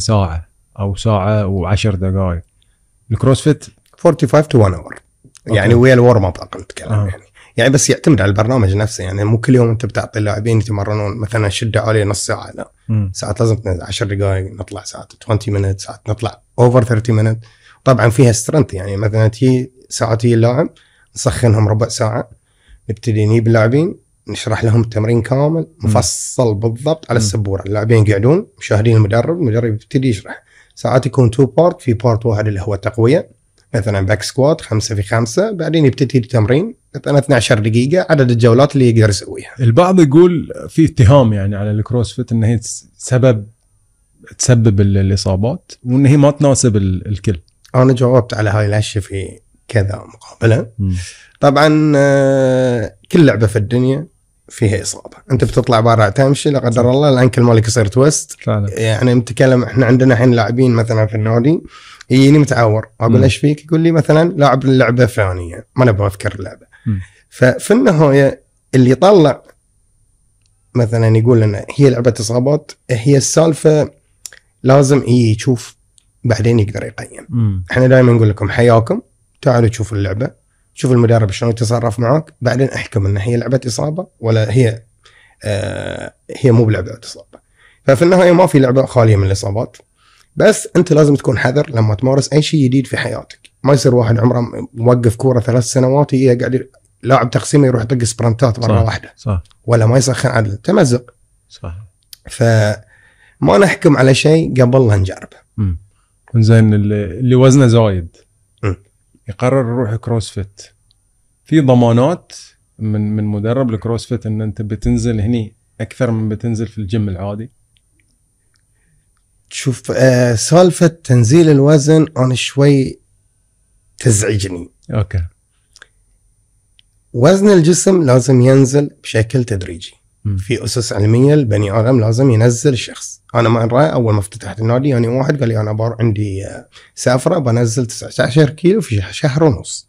ساعة أو ساعة و10 دقائق. الكروسفيت 45 to 1 hour يعني ويا الورم اب اقل تكلم يعني بس يعتمد على البرنامج نفسه. يعني مو كل يوم انت بتعطي اللاعبين يتمرنون مثلا شده عاليه نص ساعه، لا ساعات لازم 10 دقائق نطلع، ساعات 20 minutes، ساعات نطلع اوفر 30 minutes. طبعا فيها سترنت، يعني مثلا تي ساعتي اللاعب نسخنهم ربع ساعه، نبتدي نجيب اللاعبين نشرح لهم التمرين كامل مفصل بالضبط على السبوره، اللاعبين يقعدون مشاهدين المدرب يبتدي يشرح. ساعات يكون 2 بارت، في بارت واحد اللي هو تقويه مثلا باك سكوات 5 في 5، بعدين يبتدي التمرين مثلا 12 دقيقة عدد الجولات اللي يقدر يسويها. البعض يقول في اتهام يعني على الكروسفيت ان هي تسبب الإصابات وان هي ما تناسب الكل. انا جاوبت على هاي الاشياء في كذا مقابلة. طبعا كل لعبة في الدنيا فيها إصابة. انت بتطلع برا تمشي لا قدر الله الانكل مالك يصير تويست فعلا. يعني نتكلم احنا عندنا الحين لاعبين مثلا في النادي يجيني متعور، اقول ايش فيك؟ يقول لي مثلا لاعب اللعبه الفلانيه، ما نبغى اذكر اللعبه. ففي النهايه اللي يطلع مثلا يقول لنا هي لعبه اصابات، هي السالفه لازم يشوف بعدين يقدر يقيم. احنا دائما نقول لكم حياكم تعالوا تشوفوا اللعبه، شوف المدرب شلون يتصرف معك، بعدين احكم ان هي لعبه اصابه ولا هي هي مو بلعبه اصابه. ففي النهايه ما في لعبه خاليه من الاصابات، بس انت لازم تكون حذر لما تمارس اي شيء جديد في حياتك. ما يصير واحد عمره موقف كوره 3 سنوات يقعد لاعب تقسيمه يروح يطق سبرنتات مره واحده صح. ولا ما يسخن عدل تمزق صح. فما نحكم على شيء قبل لا نجربه. زين اللي وزنه زايد يقرر يروح كروسفيت، في ضمانات من مدرب الكروسفيت ان انت بتنزل هني اكثر من بتنزل في الجيم العادي؟ شوف سالفة تنزيل الوزن أنا شوي تزعجني. أوكي. وزن الجسم لازم ينزل بشكل تدريجي. في أسس علمية البني آدم لازم ينزل الشخص. أنا مرة أول ما افتتحت النادي يعني واحد قال لي أنا عندي سافرة بنزل 19 كيلو في شهر ونص.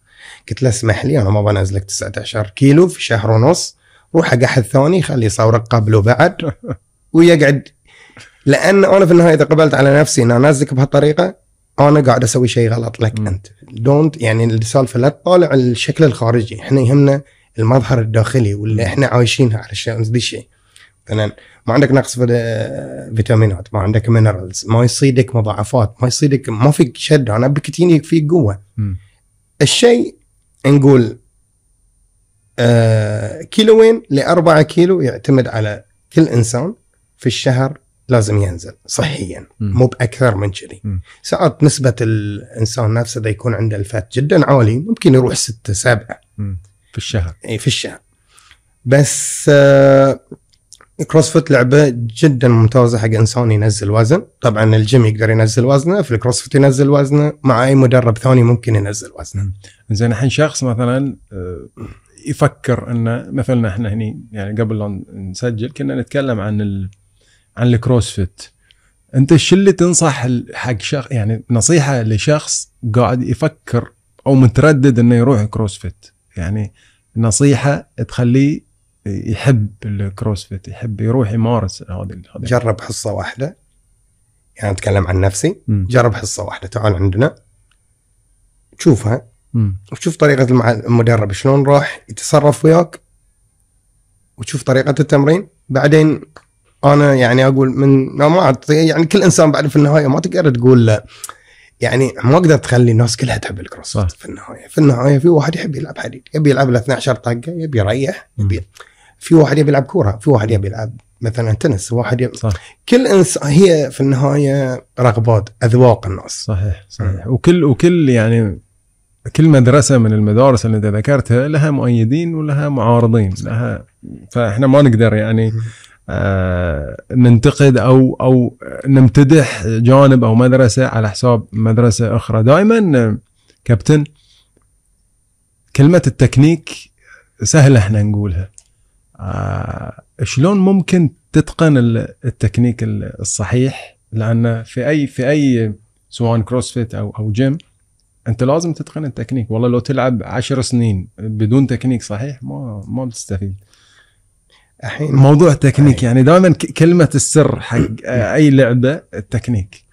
قلت له اسمح لي أنا ما بنزلك 19 كيلو في شهر ونص، روح أقحد ثاني خلي صورك قبل وبعد ويقعد. لأن أنا في النهاية إذا قبلت على نفسي أن أنزلك بهالطريقة أنا قاعد أسوي شيء غلط لك أنت. دونت يعني السالفة لا تطالع الشكل الخارجي، إحنا يهمنا المظهر الداخلي واللي إحنا عايشينها على الشيء ذي الشيء. مثلا ما عندك نقص في فيتامينات، ما عندك مينرالز، ما يصيدك مضاعفات، ما يصيدك ما فيك شد، أنا بكتيني فيك قوة. الشيء نقول كيلوين ل4 كيلو يعتمد على كل إنسان في الشهر لازم ينزل صحيا، مو بأكثر من كذي. ساعات نسبة الإنسان نفسه ده يكون عنده الفات جدا عالي، ممكن يروح 6-7 في الشهر. أي في الشهر. بس الكروسفيت لعبة جدا ممتازة حق إنسان ينزل وزن. طبعا الجيم يقدر ينزل وزنه، في الكروسفيت ينزل وزنه، مع أي مدرب ثاني ممكن ينزل وزنه. زين الحين شخص مثلا يفكر إنه مثلا إحنا هني يعني قبل لا نسجل كنا نتكلم عن الكروسفيت، انت شو اللي تنصح حق شخص يعني نصيحة لشخص قاعد يفكر او متردد انه يروح كروسفيت، يعني نصيحة تخليه يحب الكروسفيت، يحب يروح يمارس هذا. جرب حصة واحدة، يعني اتكلم عن نفسي. جرب حصة واحدة، تعال عندنا تشوفها وتشوف طريقة المدرب شلون راح يتصرف وياك وتشوف طريقة التمرين. بعدين أنا يعني أقول ما يعني كل إنسان بعد في النهاية ما تقدر تقول لا، يعني ما أقدر تخلي الناس كلها تحب الكروسفيت. في النهاية في واحد يحب يلعب حديد، يبي يلعب ل 12 طقة، يبي يريح، في واحد يبي يلعب كورة، في واحد يبي يلعب مثلا تنس، واحد كل إنسان هي في النهاية رغبات أذواق الناس. صحيح. وكل يعني كل مدرسة من المدارس اللي انت ذكرتها لها مؤيدين ولها معارضين لها، فإحنا ما نقدر يعني ننتقد أو نمتدح جانب أو مدرسة على حساب مدرسة أخرى. دائما كابتن كلمة التكنيك سهلة احنا نقولها، شلون ممكن تتقن التكنيك الصحيح؟ لأن في أي سواء كروسفيت أو جيم أنت لازم تتقن التكنيك. والله لو تلعب 10 سنين بدون تكنيك صحيح ما بتستفيد. موضوع التكنيك يعني دائما كلمة السر حق أي لعبة التكنيك.